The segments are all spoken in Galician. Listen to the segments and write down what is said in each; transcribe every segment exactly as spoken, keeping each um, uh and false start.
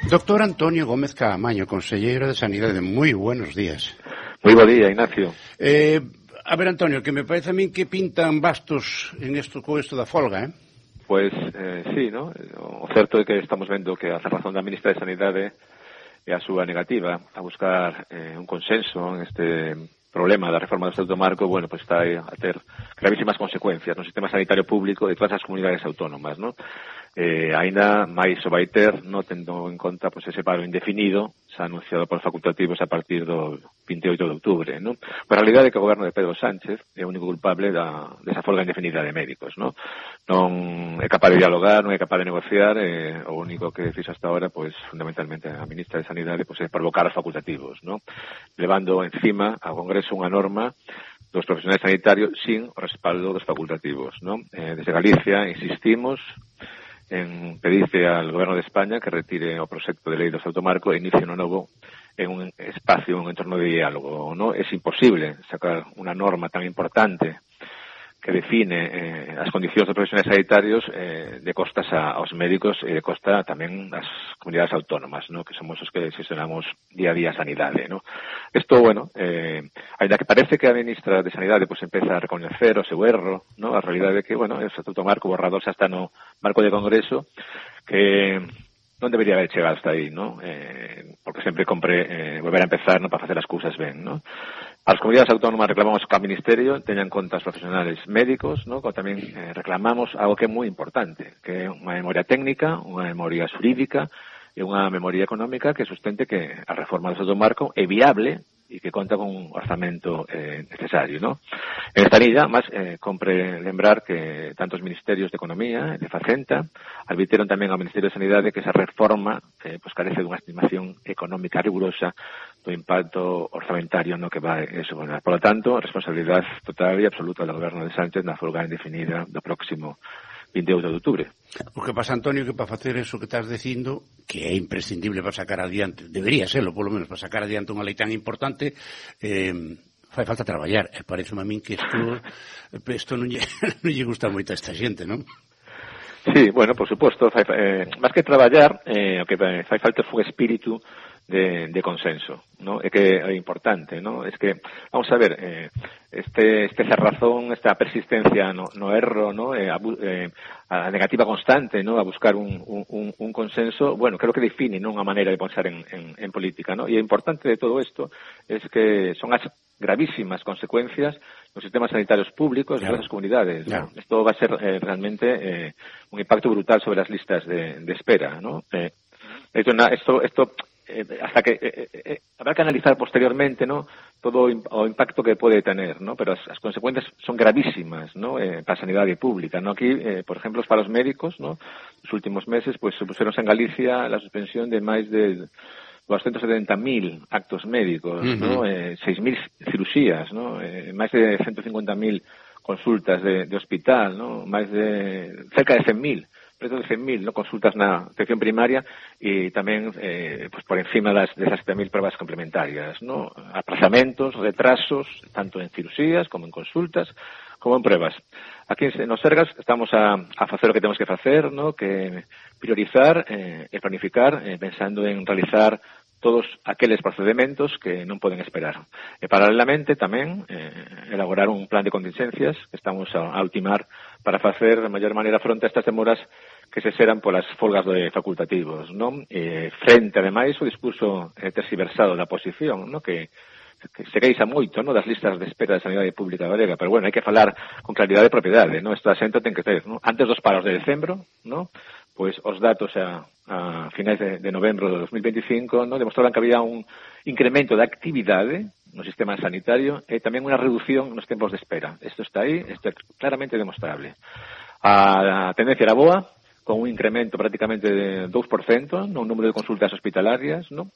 Doctor Antonio Gómez Caamaño, conselleiro de Sanidade, moi buenos días. Moi bo día, Ignacio. Eh, a ver, Antonio, que me parece a min que pintan bastos en esto, con isto da folga, eh? Pois, eh, sí, ¿no? O certo é que estamos vendo que a razón da ministra de Sanidade é a súa negativa a buscar eh, un consenso en este problema da reforma do Estatuto Marco, bueno, pues está a ter gravísimas consecuencias no sistema sanitario público de todas as comunidades autónomas, ¿no? Eh, ainda máis o vai ter, no tendo en conta pues, ese paro indefinido xa anunciado por facultativos a partir do vinte e oito de outubro, ¿no? Pero a realidade é que o goberno de Pedro Sánchez é o único culpable da, desa folga indefinida de médicos, ¿no? Non é capaz de dialogar, non é capaz de negociar, eh, o único que fixo hasta ahora, pues, fundamentalmente a ministra de Sanidade, pues, é provocar os facultativos, ¿no? Levando encima ao Congreso unha norma dos profesionais sanitarios sin o respaldo dos facultativos, ¿no? Eh, desde Galicia insistimos en pedirse al Goberno de España que retire o proxecto de lei do Estatuto Marco e inicie un novo en un espacio, un entorno de diálogo, ¿no? Es imposible sacar unha norma tan importante que define eh, as condicións dos profesionais sanitarios eh, de costas a, aos médicos e de costa tamén ás comunidades autónomas, ¿no? Que somos os que gestionamos día a día a sanidade, ¿no? Isto, bueno, eh, ainda que parece que a ministra de Sanidade pues, empeza a recoñecer o seu erro, ¿no? A realidade é que, bueno, o Estatuto Marco borrador xa está no marco de Congreso que non debería haber chegado hasta aí, ¿no? Eh, porque sempre compre eh, volver a empezar, ¿no? Para facer as cousas ben, ¿no? As comunidades autónomas reclamamos que o Ministerio teña en conta os profesionales médicos, ¿no? Como tamén eh, reclamamos algo que é moi importante, que é unha memoria técnica, unha memoria xurídica e unha memoria económica que sustente que a reforma do Estatuto Marco é viable e que conta con un orzamento eh, necesario, ¿no? En esta línea, máis, eh, compre lembrar que tanto os Ministerios de Economía e de Facenta advirtieron tamén ao Ministerio de Sanidade que esa reforma eh, pues, carece dunha estimación económica rigurosa do impacto orzamentario no que vai suponer. Por lo tanto, responsabilidade total e absoluta do Goberno de Sánchez na folga indefinida do próximo vinte e oito de outubro. O que pasa, Antonio, que para facer eso que estás dicindo, que é imprescindible para sacar adiante, debería serlo, polo menos, para sacar adiante unha lei tan importante, eh, fai falta traballar. E parece a min que isto, isto non, lle, non lle gusta moito a esta xente, non? Sí, bueno, por suposto, fai, eh, máis que traballar, eh, o que fai falta foi espírito de, de consenso, ¿no? É que é importante, ¿no? Es que, vamos a ver, eh, este, este cerrazón, esta persistencia no, no erro, ¿no? Eh, a, eh, a negativa constante, ¿no? A buscar un, un, un consenso, bueno, creo que define, ¿no? Unha maneira de pensar en, en, en política, ¿no? E o importante de todo isto es que son as gravísimas consecuencias nos sistemas sanitarios públicos de las comunidades, ¿no? Esto va a ser eh, realmente eh, un impacto brutal sobre las listas de, de espera, ¿no? Eh, esto, esto, esto Eh, hasta que eh, eh, habrá que analizar posteriormente, ¿no? Todo o impacto que puede tener, ¿no? Pero as, as consecuencias son gravísimas, ¿no? Eh, para a sanidade pública, ¿no? Aquí, eh, por ejemplo, os paros médicos, ¿no? Nos últimos meses, pues, supuseronse en Galicia la suspensión de máis de doscientos setenta mil actos médicos, uh-huh. ¿no? Eh, seis mil cirugías, ¿no? Eh, máis de ciento cincuenta mil consultas de, de hospital, ¿no? Máis de cerca de cen mil preto de cen mil, ¿no? Consultas na atención primaria e tamén eh, pues por encima das desas sete mil pruebas complementarias, ¿no? Aplazamentos, retrasos, tanto en cirugías como en consultas, como en pruebas. Aquí nos Sergas estamos a, a facer o que temos que facer, ¿no? Que priorizar eh, e planificar eh, pensando en realizar todos aqueles procedementos que non poden esperar. E paralelamente tamén eh, elaborar un plan de contingencias que estamos a, a ultimar para facer de maior maneira fronte a estas demoras que se xeran polas folgas de facultativos, non? Eh, frente, ademais, o discurso eh, tersiversado da oposición, non? Que que se queixa moito, ¿no? Das listas de espera de sanidade pública galega, pero bueno, hai que falar con claridade e propiedade, ¿no? Esta xente ten que ter, ¿no? Antes dos paros de decembro, ¿no? Pois os datos a, a finais de, de novembro de dos mil veinticinco, ¿no? Demostraban que había un incremento de actividade no sistema sanitario e tamén unha reducción nos tempos de espera. Isto está aí, isto é claramente demostrable. A, a tendencia era boa, con un incremento prácticamente de dous por cento no número de consultas hospitalarias, ¿no?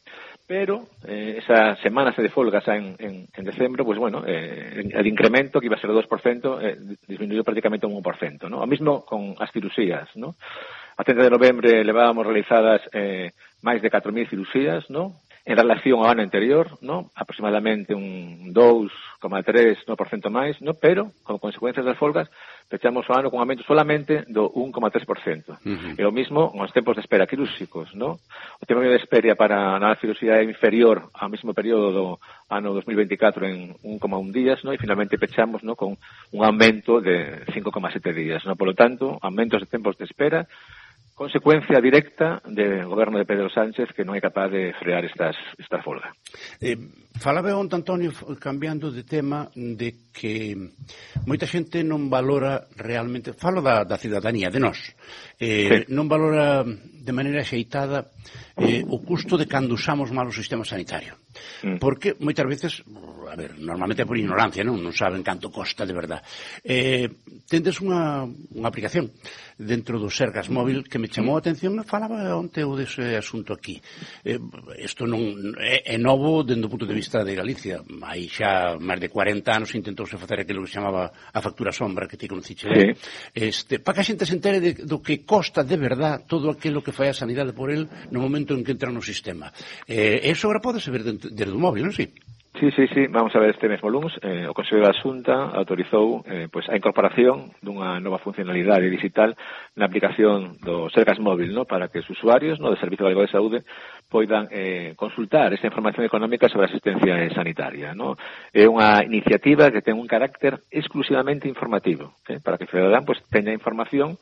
Pero eh, esa semana de folga xa en, en, en decembro, pues bueno, eh, el incremento que iba a ser o dos por cento eh, disminuyó prácticamente un un por cento, ¿no? O mismo con as cirusías, ¿no? A treinta de novembro levábamos realizadas eh, máis de catro mil cirusías, ¿no? En relación ao ano anterior, ¿no? Aproximadamente un dous coma tres por cento máis, ¿no? Pero, como consecuencias das folgas, pechamos o ano con aumento solamente do un coma tres por cento. Uh-huh. E o mismo nos tempos de espera quirúrxicos, ¿no? O tempo de espera para na cirurxía é inferior ao mesmo período do ano dos mil veinticuatro en un coma un días, ¿no? E finalmente pechamos, ¿no?, con un aumento de cinco coma sete días, ¿no? Por lo tanto, aumentos de tempos de espera, consecuencia directa do goberno de Pedro Sánchez, que non é capaz de frear estas, esta folga. Eh, falaba onte, Antonio, cambiando de tema, de que moita xente non valora realmente, falo da, da cidadanía, de nós, eh, sí. non valora de maneira xeitada eh, o custo de cando usamos mal o sistema sanitario. Mm. Porque moitas veces, a ver, normalmente é por ignorancia, non, non saben canto costa de verdad. Eh, tendes unha, unha aplicación dentro do Sergas móvil que me chamou a atención, me falaba onte o dese asunto aquí. Eh, isto non é, é novo dende o punto de vista de Galicia. Hai xa máis de cuarenta anos intentouse facer aquilo que se chamaba a factura sombra, que ti conociche. Sí. Este, para que a xente se entere de, do que costa de verdad todo aquilo que fai a sanidade por el no momento en que entra no sistema. Eh, eso agora pode ser desde, desde o móvil, non si? Sí, sí, sí, vamos a ver este mesmo lunes, eh, o Consello da Xunta autorizou eh, pues, a incorporación dunha nova funcionalidade digital na aplicación do Sergas móvil, ¿no?, para que os usuarios, ¿no?, do Servicio Galego de Saúde poidan eh, consultar esta información económica sobre a asistencia sanitaria, ¿no? É unha iniciativa que ten un carácter exclusivamente informativo, ¿eh?, para que o cidadán pues, teña información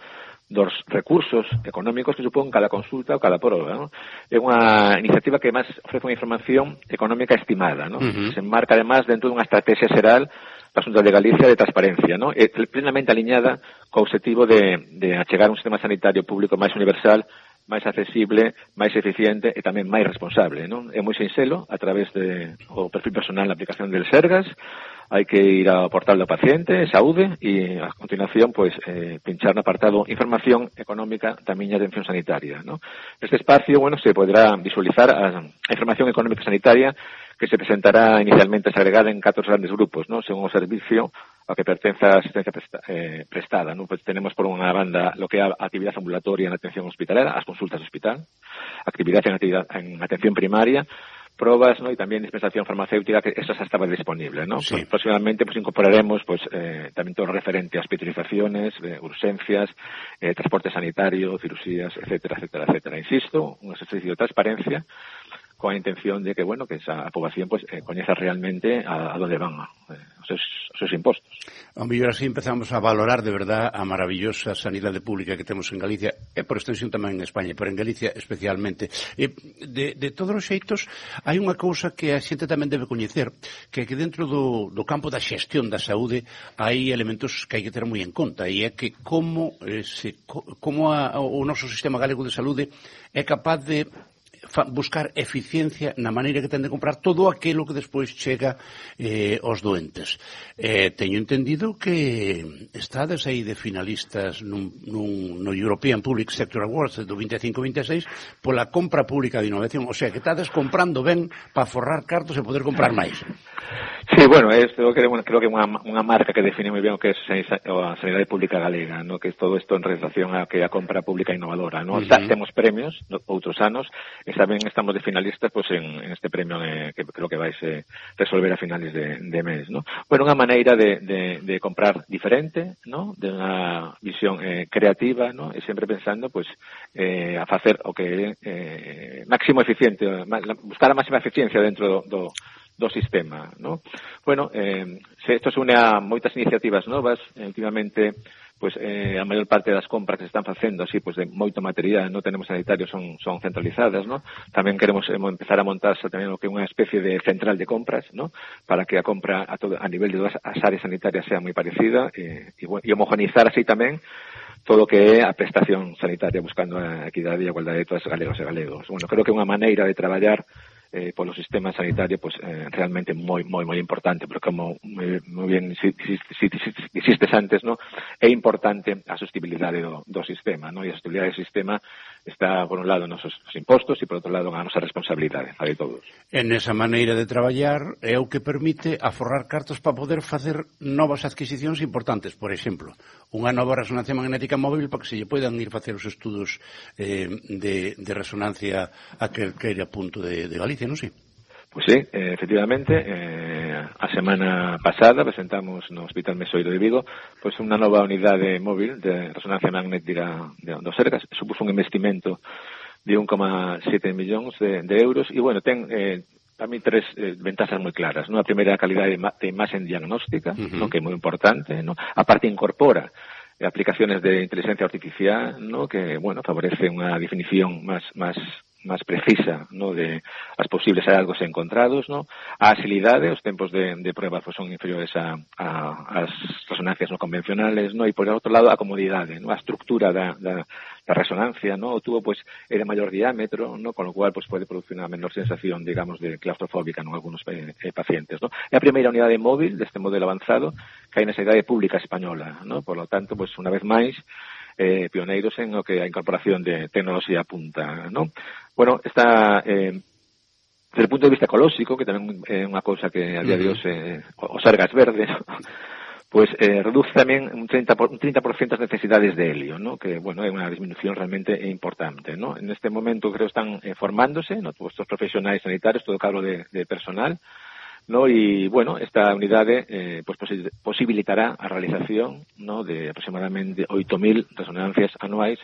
dos recursos económicos que supón cada consulta ou cada proba, ¿no? É unha iniciativa que máis ofrece unha información económica estimada, ¿no? Uh-huh. Se enmarca además dentro dunha estrategia xeral da Xunta de Galicia de transparencia, ¿no? É plenamente aliñada co obxectivo de, de achegar un sistema sanitario público máis universal, máis accesible, máis eficiente e tamén máis responsable, ¿no? É moi sinxelo a través de o perfil personal na aplicación del Sergas. Hai que ir ao portal do paciente, saúde, e a continuación, pues, eh, pinchar no apartado información económica da miña atención sanitaria, ¿no? Neste espacio, bueno, se podrá visualizar a, a información económica sanitaria que se presentará inicialmente segregada en catro grandes grupos, ¿no?, según o servicio ao que pertence a asistencia presta, eh, prestada, ¿no? Pues tenemos por unha banda lo que é a actividade ambulatoria en atención hospitalera, as consultas de hospital, actividade en, actividad, en atención primaria, probas, ¿no?, y también dispensación farmacéutica, que eso ya estaba disponible, ¿no? Sí. Pues, próximamente pues incorporaremos pues eh, también todo lo referente a hospitalizaciones, eh, urgencias, eh, transporte sanitario, cirugías, etcétera, etcétera, etcétera. Insisto, un ejercicio de transparencia con la intención de que, bueno, que esa población pues eh, coñeza realmente a, a dónde van eh, os, seus, os seus impostos. A mellor así empezamos a valorar de verdad a maravillosa sanidade pública que temos en Galicia, e por extensión tamén en España, pero en Galicia especialmente. E de, de todos os xeitos, hai unha cousa que a xente tamén debe coñecer, que é que dentro do, do campo da xestión da saúde hai elementos que hai que ter moi en conta, e é que como, eh, se, como a, o noso sistema galego de saúde é capaz de buscar eficiencia na maneira que ten de comprar todo aquilo que despois chega eh, aos doentes. Eh, teño entendido que estades aí de finalistas nun, nun, no European Public Sector Awards do veinticinco veintiséis pola compra pública de innovación, o sea, que estades comprando ben para forrar cartos e poder comprar máis. Sí, bueno, esto creo, creo que é unha, unha marca que define moi ben o que é a sanidade pública galega, ¿no? Que é todo isto en relación a que a compra pública innovadora, ¿no? Uh-huh. Temos premios outros anos e tamén estamos de finalistas pues, en, en este premio eh, que creo que vais a eh, resolver a finales de, de mes, ¿no? Bueno, unha maneira de, de, de comprar diferente, ¿no? De unha visión eh, creativa, ¿no? E sempre pensando pues, eh, a facer o que eh, máximo eficiente, buscar a máxima eficiencia dentro do, do do sistema, ¿no? Bueno, eh, se isto se une a moitas iniciativas novas, eh, últimamente, pues eh, a maior parte das compras que se están facendo así, pues de moito material, non tenemos sanitarios, son, son centralizadas, ¿no? Tamén queremos eh, empezar a montarse tamén o que é unha especie de central de compras, ¿no? Para que a compra a, todo, a nivel de todas as áreas sanitarias sea moi parecida e, e, e homogeneizar así tamén todo o que é a prestación sanitaria, buscando a equidade e a igualdade de todos os galegos e galegos. Bueno, creo que é unha maneira de traballar eh, polo sistema sanitario pues eh, realmente moi moi moi importante, porque como moi, moi bien si, si, si, si, existes antes, ¿no? É importante a sostenibilidade do, do sistema, ¿no? E a sostenibilidade do sistema está por un lado nos nosos impostos e por outro lado a nosa responsabilidade, a de todos. En esa maneira de traballar é o que permite aforrar cartos para poder facer novas adquisicións importantes, por exemplo, unha nova resonancia magnética móvil para que se lle poidan ir facer os estudos eh, de, de resonancia a calquera punto de, de Galicia, non sei? Pois sí, eh, efectivamente, eh, a semana pasada presentamos no Hospital Mesoiro de Vigo pois unha nova unidade móvil de resonancia magnética do Sergas. Supuso un investimento de un coma sete millóns de, de euros e, bueno, ten eh, para mí tres eh, ventajas moi claras, ¿no? A primeira, a calidade de, de imaxe diagnóstica, uh-huh. ¿no? Que é moi importante, ¿no? A parte incorpora aplicaciones de inteligencia artificial, ¿no? Que, bueno, favorece unha definición máis máis máis precisa, ¿no? De as posibles hallazgos encontrados, ¿no? A agilidade, os tempos de, de prueba pues, son inferiores a, a as resonancias no convencionales, ¿no? E por outro lado a comodidade, ¿no? A estructura da, da, da resonancia, ¿no? O tubo pues é de maior diámetro, ¿no? Con lo cual pues pode producir unha menor sensación, digamos, de claustrofóbica en algunos eh, eh, pacientes, ¿no? É a primeira unidade móvil deste modelo avanzado que hai na sanidade pública española, ¿no? Por lo tanto, pues unha vez máis Eh, pioneiros en o que a incorporación de tecnoloxía punta, ¿no? Bueno, está eh, desde o punto de vista ecolóxico, que tamén é unha cousa que a día de hoxe eh, o Sergas verde, ¿no? Pues eh, reduce tamén un treinta por ciento as necesidades de helio, ¿no? Que, bueno, é unha disminución realmente importante, ¿no? En este momento creo están eh, formándose, ¿no? Todos estos profesionais sanitarios, todo cargo de, de personal, ¿no? Y bueno, esta unidade eh, pues posibilitará a realización, ¿no? De aproximadamente oito mil resonancias anuais,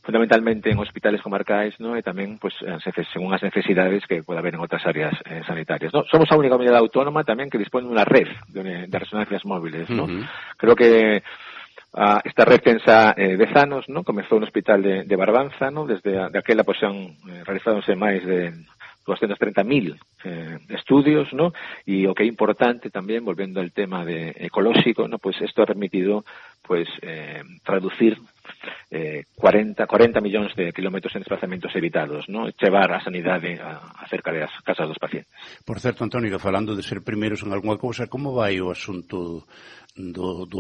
fundamentalmente en hospitales comarcais, ¿no? E tamén pues según as necesidades que pueda haber en outras áreas eh, sanitarias, ¿no? Somos a única unidade autónoma tamén que dispone de unha red de, de resonancias móviles, ¿no? Uh-huh. Creo que Uh, esta red pensa eh, dez anos, ¿no? Comezou no hospital de, de Barbanza, ¿no? Desde a, de aquela pues han eh, realizándose máis de doscientos treinta mil eh, estudios, ¿no? Y o que é importante tamén, volvendo al tema de ecolóxico, ¿no? Pues esto ha permitido pues eh, traducir eh, cuarenta millóns de kilómetros en desplazamentos evitados, ¿no? Chevar a sanidade a, a cerca das casas dos pacientes. Por certo, Antonio, falando de ser primeiros en algunha cousa, como vai o asunto do, do